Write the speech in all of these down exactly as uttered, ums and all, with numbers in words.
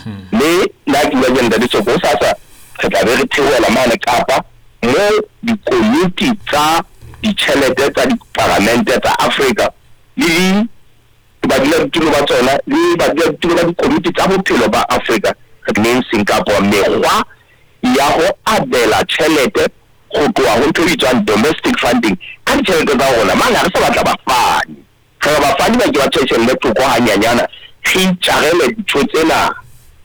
Mme le ha ke bua ke ntate Soko, hosasa re tla be re theohela mane Kapa mo dikomiti tsa ditjhelete tsa diparlamente tsa Afrika le badulasetulo ba tsona le badulasetulo ba dikomiti tsa bophelo ba Afrika re leng Singapore, mekgwa ya ho abela tjhelete ho tloha ho ntho e bitswang domestic funding ka ditjhelete tsa rona. Mane ha re sa batla bafani, re re bafani ba ke ba tjhetjhelle thoko hanyanyana, re itjarele dintho tsena.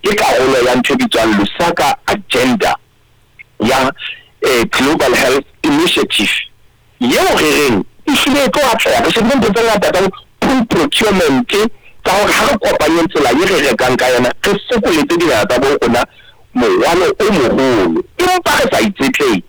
Ke karolo ya ntho e bitswang Lusaka Agenda ya eh, Global Health Initiative yeo re reng e hlile e tlo atleha. Re shebile ntho tse ngata tsa pool procurement, tsa hore ha re kopanyeng tsela e re rekang ka yona, re fokoletse dinaha tsa bo rona morwalo o moholo, empa re sa itshetlehe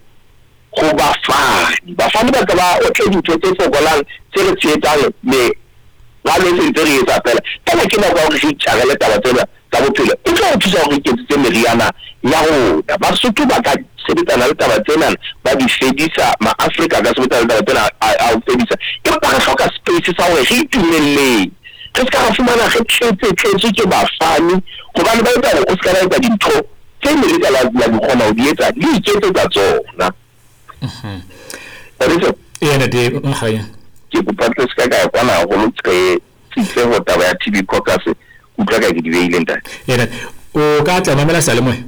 ho bafani. Bafani ba ka ba otle dintho tse fokolang tse re tshehetsang meralo e sentse re etsa fela. Fela ke nako ya hore re itjarele taba tsena tsa bophelo, e tlo re thusa hore re iketsetse meriana ya rona. Basotho ba ka sebetsana le taba tsena ba di fedisa, maAfrika a ka sebetsana le taba tsena a ho fedisa, empa re hloka space sa hore re itumelleng, re ska ra fumana re tletse tletswe ke bafani, hobane ba etsa hore o ska ba etsa dintho tse ne le ka la di kgona ho di etsa, di iketsetsa tsona. Ee ntate Mokganya, ke kopa tle se ka ka ya kwana haholo ke tsitse ho taba ya T B caucus, utlwa ka ke di beile ntate. Ee ntate, o ka tla mamela seyalemoya?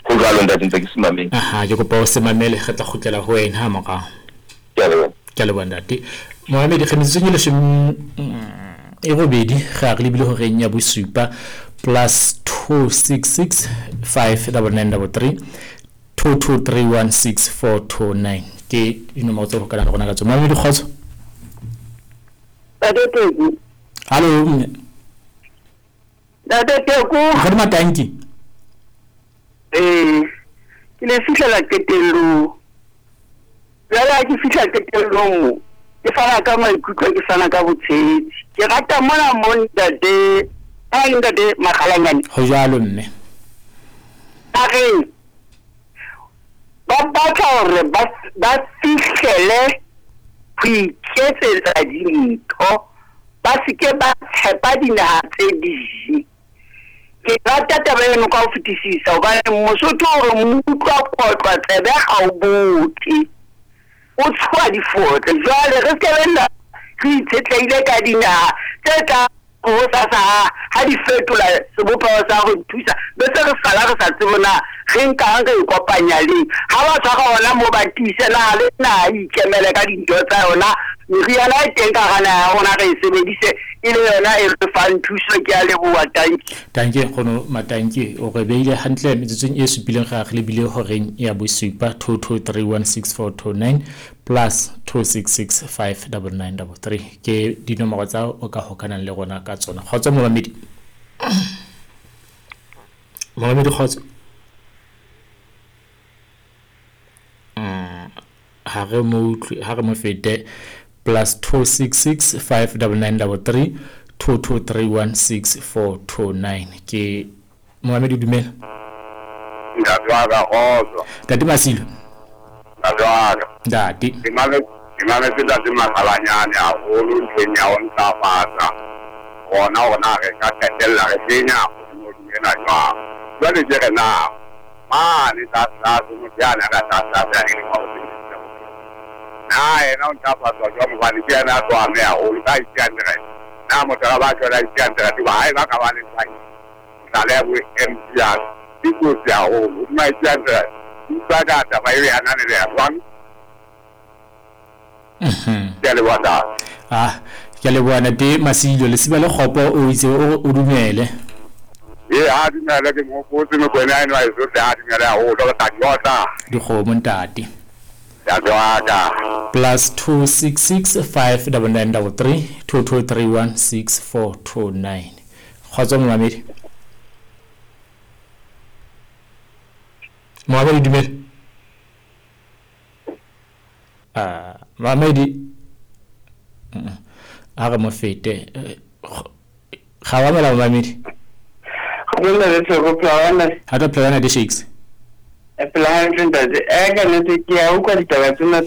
Ho jwalo ntate, ntse ke se mamele. Aha, ke kopa o se mamele, re tla kgutlela ho wena ha morao. Ke a leboha. Ke a leboha ntate. Mohamedi, re metsotsong e leshome e robedi re a re lebile horeng ya bosupa, plus two six six five double nine double three two two three one six four two nine ke dinomoro tse hokalang le rona ka tsona. Mohamedi, kgotso. Ntate Teku. Hallo mme. Ntate Teku. Nkgono Matanki. Eh, ke le fihlela qetellong. Jwale ha ke fihla qetellong mo, ke fana ka maikutlo, ke fana ka botshehetsi. Ke rata mona mo ntate, ha ntate Makgalanyane. Ho jwalo mme. A re ba batla hore ba ba fihlele ho iketsetsa dintho, ba se ke ba tshepa dinaha tse ding. Ke rata taba eno ka ho fetisisa hobane Mosotho o re moutlwa kotlwa tsebe ha o bothe, o tshoha difotle. Jwale re se ke nna re itshetlehile ka dinaha tse tla hosasa ha di fetola sebopeho sa ho thusa, be se re sala re sa tsebe na re nkang re ikopanya leng. Ha ba tshwara hona moo ba tiise naha le naha e ikemele ka dintho tsa yona, meriana e teng ka hara naha ya rona re e sebedise e le yona e re fang thuso. Ke a leboha, tanki. Tanki nkgono Matanki, o re beile hantle metsotsong e supileng re a re lebile horeng ya bosupa, two two three one six four two nine plus two six six five double nine double three ke dinomoro tsa o ka hokanang le rona ka tsona. Kgotso momamedi. Momamedi kgotso. Ha re mo utlwe, ha re mo fete, plus two six six five double nine double three two two three one six four two nine ke momamedi. Dumela. Ntate wa ka, kgotso. Ntate Masilo. Ntate wa ka. Ntate. Ke mametse, ke mametse ntate Makgalanyane haholo ntlheng ya ho ntlafatsa hona hore re ka qetella re kenya hodimo ena jwang. Jwale ke re na mane tlase motho yane a ka tlase tlase a leng hore na yena o ntlafatswa jwang, hobane ke yena a tlo ameha haholo ka eight hundred. Na motho ha ba tjho eight hundred ba hae ba ka ba le tlhahiso tlaleho ya bo M P R ke kotsi haholo. Hodima eight hundred utlwa ka taba eo ya ananeleha jwang? Ke a leboha ntate. Ah, ke a leboha ntate Masilo. Lesiba le kgopo o itse o o dumele. Ee, ha dumele, ke mo hopotse Mokoena eno a eso tle, ha dumele haholo, re tla di otla. Dikgomo ntate. Ntate wa ka. Plus two six six five double nine double three two two three one six four two nine. Kgotso momamedi. Momamedi dumele. Ah, momamedi. A re mo fete. Ga wa mela momamedi. Ga le tsego plana. Ha ka plana di shakes. E plana ntate. E ka nete ke a utlwa ditaba tsena